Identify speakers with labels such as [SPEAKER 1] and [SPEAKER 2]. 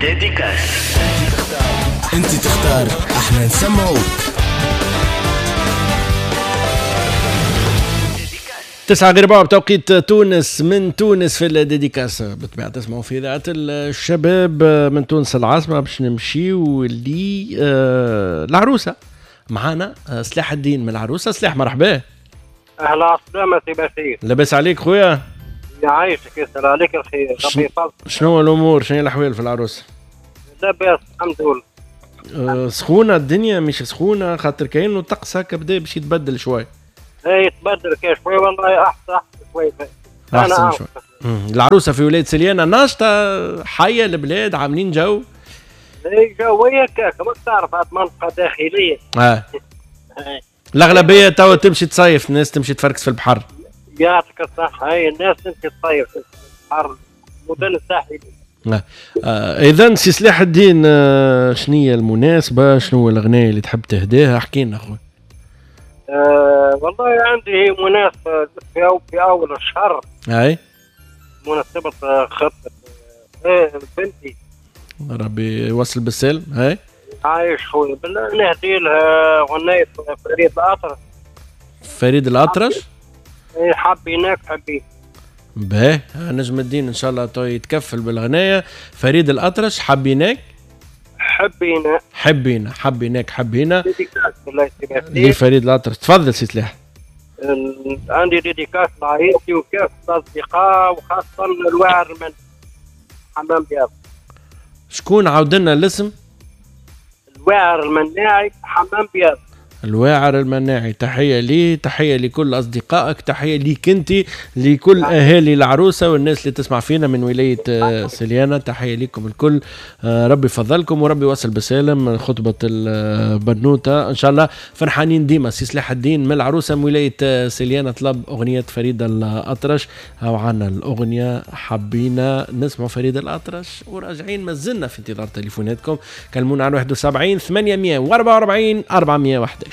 [SPEAKER 1] dédicace.
[SPEAKER 2] انت تختار، احنا نسمعوك.
[SPEAKER 3] 9 غير ربع بتوقيت تونس، من تونس في ال dédicace بالطبيعة تسمعوا في إذاعة الشباب من تونس العاصمة. باش نمشيو لي العروسة، معانا سلاح الدين من العروسة. سلاح مرحبا.
[SPEAKER 4] أهلا وسهلا سي بشير.
[SPEAKER 3] لاباس عليك خويا؟
[SPEAKER 4] يعيشك، يسأل عليك الخير، ربي يفضلك.
[SPEAKER 3] شنو الأمور، شنو الأحوال في العروسة؟
[SPEAKER 4] لاباس الحمد لله.
[SPEAKER 3] سخونة الدنيا مش سخونة، خاطر كاين الطقس هكا بدا باش يتبدل شوي.
[SPEAKER 4] اي يتبدل كاش شوي والله، احسن شوي،
[SPEAKER 3] احسن شوي. العروسة في ولاية سليانه ناشطة، حيه البلاد، عاملين جو.
[SPEAKER 4] اي جوية كاك، ما تعرف هاد منطقة داخلية.
[SPEAKER 3] الاغلبية توا تمشي تصيف، الناس تمشي تفركس في البحر.
[SPEAKER 4] يعطيك الصحة، هاي الناس تمشي تصيف في البحر، المدن الساحلية.
[SPEAKER 3] اذا سي سلاح الدين، شنية المناسبة، شنو الاغنية اللي تحب تهديها؟ احكي لنا خويا.
[SPEAKER 4] والله عندي هي مناسبة في أول الشهر.
[SPEAKER 3] أي
[SPEAKER 4] مناسبة خطبة بنتي.
[SPEAKER 3] ربي يوصل بالسلم. هاي
[SPEAKER 4] عايش خويا، بالله نهدي لها غنية فريد الأطرش.
[SPEAKER 3] فريد الأطرش؟
[SPEAKER 4] إيه، حبيناك حبي.
[SPEAKER 3] باهي، نجم الدين إن شاء الله تو يتكفل بالغناية. فريد الأطرش، حبيناك
[SPEAKER 4] حبينا،
[SPEAKER 3] حبينا، حبيناك حبينا، لفريد الأطرش. تفضل سي سلاح.
[SPEAKER 4] عندي dédicace لعائلتي وكافة الأصدقاء، وخاصة الواعر من حمام بياض.
[SPEAKER 3] شكون عاود لنا الاسم؟
[SPEAKER 4] الواعر المناعي حمام بياض.
[SPEAKER 3] الواعر المناعي، تحية لي، تحية لكل أصدقائك، تحية ليك أنت، لكل أهالي العروسة والناس اللي تسمع فينا من ولاية سليانة، تحية لكم الكل. ربي يفضلكم وربي يوصل بسالم خطبة البنوتة إن شاء الله، فرحانين ديما. سي سلاح الدين من العروسة من ولاية سليانة طلب أغنية فريد الأطرش، أو عنا الأغنية حبينا نسمع فريد الأطرش. وراجعين مازلنا في انتظار تليفوناتكم، كلمونا على 71 844 411.